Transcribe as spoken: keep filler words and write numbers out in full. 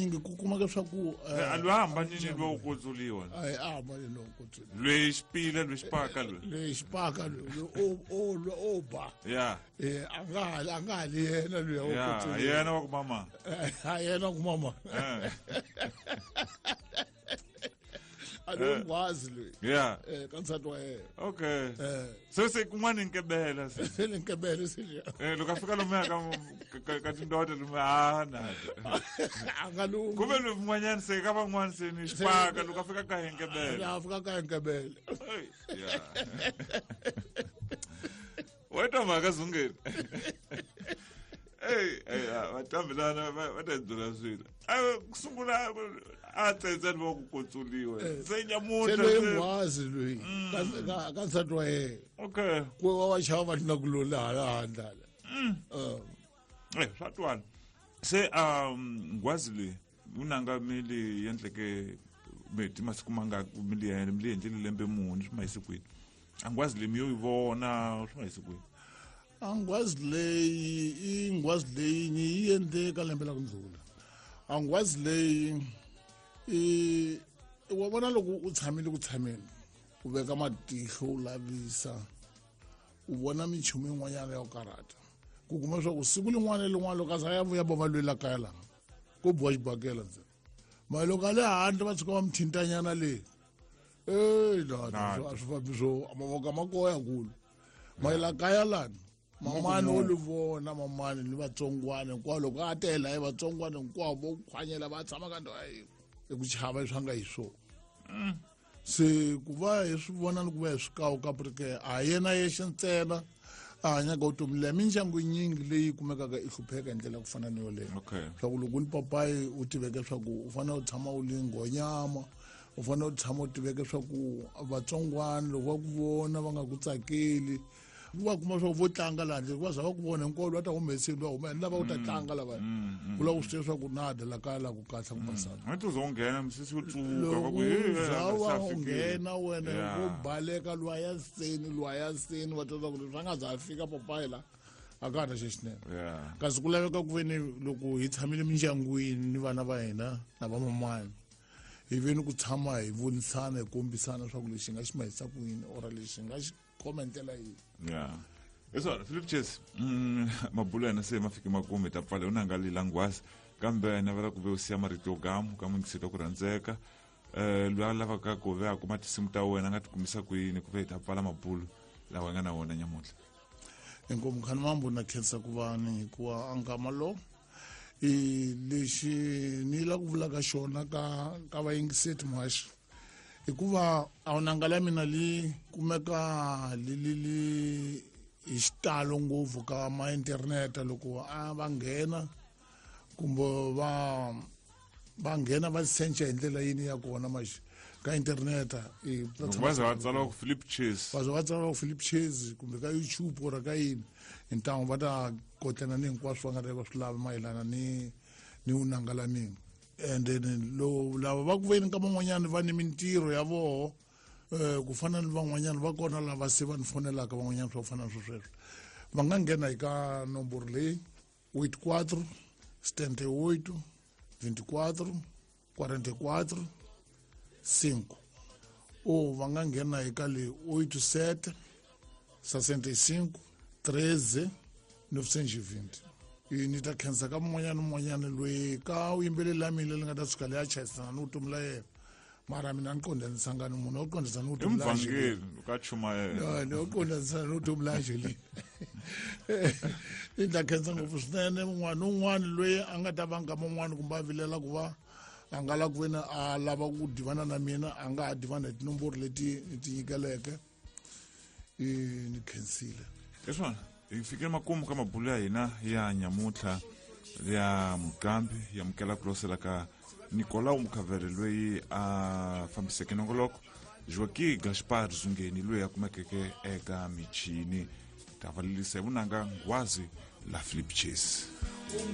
Nyingi ku kumeka swa ku A lwa hambanini lwa ku kutsuliwa. A a hambanini lowu kutsuliwa. Lweyi xipila, lweyi xipaka, lweyi. Lweyi xipaka, lweyi o o o ba. Ya. Eh, a nga ha a nga ha li yena luya wo ya kutsuliwa. Yena wa ku mama. A yena ku mama. Eh. A lo nghwazi loyi. Ya. Eh, ka nsati wa yena. Okay. Eh. Se se kun'wana nkebela se. Se ni nkebele se. Eh, loko a fika lomuya ka ka- ka tindota lomuya a na A nga lungi. Kumbe lomun'wanyana se ka van'wana se ni xipaka, loko a fika ka henkebela. A fika ka nkebele. Ya, wa twa mhaka zungeni. Ey, ey, vatambilana va va ta byela swilo. A ku sungula a tsetse va ku kutsuliwa se se nyamuntlha loyi se- nghwazi loyi ka- ka- ka nsati wa yena. Okay. Ku va va xava va tlula ku loli hala handle hala. Eh. Eh, swa twala se um nghwazi leyi vunanga mi li endleke meti masiku mangaki, mi li mi li endlile lembe muni, swi ma yise kwini? A nghwazi leyi mi yo yi vona swi ma yise kwini? A nghwazi leyi i nghwazi leyi ni yi endle ka lembe la ku ndlula. A nghwazi leyi i wa vona loko u tshamile ku tshameni, u veka matihlo, u lavisa, u vona minchumu yin'wanyana ya ku karhata, ku kuma leswaku siku lin'wana na lin'wana loko a za ya vuya va lwela kaya laha ko biwa xibakela ntsena, mara loko a le handle va tshuka va mi thintanyana le ey lana a swi fambi swo mavoko a ma koya kulu mayela kaya lani. Mamani wo li vona, mamani ni vatsongwana hinkwavo, loko a tela hi vatsongwana hinkwavo vo khwanyela va tshama ka ndhawu ya yin'we hi ku chava leswi a nga hi swona. Se ku va hi swi vona ni ku va hi swi kawuka porque a yena yexe ntsena a hanyaka vutomi leya. Mindyangu yinyingi leyi kumekaka i hlupheka hi ndlela ya ku fana ni yoleyo, okay swa ku loko u li papayi u tiveke swa ku u fanele u tshama u li nghonyama, u fanele u tshama u tiveke swa ku vatsongwana loko va ku vona va nga ku tsakeli, va kuma swa ku vo tlanga laha handle va za va ku vona hinkwavo va ta humeseni, va huma ni lava ku ta tlanga lavaya, ku lava ku swi tiva swa ku na dela kaya laha ku kahle ku basana. A ti zo nghena misisi yo tsuka va Loko ku "Hey, za a wa sa u fikile." nghena wena Yeah. vo baleka lwaya seni lwaya seni, va twa ku leswi a nga za a fika papayi la a ka ha na xexinene. Yeah. Kasi ku laveka ku ve ni loko hi tshamile mindyangwini ni vana va hina na vamamani, hi ve ni ku tshama hi vonisana, hi kombisana swa ku lexi hi nga xi mahisa ku yini or lexi hi nga xi khoma hi ndlela yihi. Yeah, hi swona, Philip Chase. mm, mabulo ya hina se ma fike makumu, hi ta pfala u nanga lila nghwazi, kambe navela ku ve u siya marito yo gamu ka muyingiseli wa ku rhandzeka um loyi a lavaka ku ve a kuma tinsimu ta wena, a nga ti kumisa kwini, ku ve hi ta pfala mabulo lawa hi nga na wona nyamuntlha? Inkomu khani mambo, na khensa ku va ni hikuva a nkama lo i lexi ni la ku vulaka xona ka ka vayingiseti muhaxi, hikuva a vunanga la mina li kumeka li li li hi xitalo ngopfu ka ma internet. Loko a va nghena kumbe va va nghena va search hi ndlela yini ya kona maxi ka internet i Loko va za va tsala ku Philip Chase. Va za va tsala ku Philip Chase kumbe ka YouTube or ka yini, hi ntangu va ta kotlana ni hinkwaswo va nga ta va swi lava mayelana ni ni vunanga la mina. And then lo lava va ku veni ka van'wanyani va ni mintirho ya voho, eh ku fana ni van'wanyana va kona lava se va ni fonelaka van'wanyana swa ku fana na swo sweswo, va nga nghena hi ka nomboro leyi oito quatro setenta e oito vinte e quatro quarenta e quatro cinco, ou va nga nghena hi ka le oito sete sessenta e cinco treze novecentos e vinte. I ni ta khensa ka mun'wanyana ni mun'wanyana loyi ka vuyimbeleri la mina leri nga ta tshuka leyi a chayisana ni vutomi la yena, mara mina ni qondanisanga ni munhu wo qondisa ni I vutomi la Angeline. Muvhangeli ka chumayela. Ni wo qondanisana ni vutomi la Angeline. Ni ta khensa ngopfu swinene un'wana ni un'wana loyi a nga ta va nkama un'wana kumbe a vilela ku va a nga lava ku veni a lava ku divana na mina, a nga ha divana hi tinomboro leti ni ti nyikeleke. I ni khensile. Hi swona, hi fikile makumu ka mabulo ya hina ya nyamuntlha ya muqambi ya mukela ku losela ka Nicolau Mukhavere loyi a fambiseke nongoloko, Joaqui Gaspar Zungeni loyi a kumekeke eka michini. Ta valelisa hi vunanga nghwazi la Philip Chase.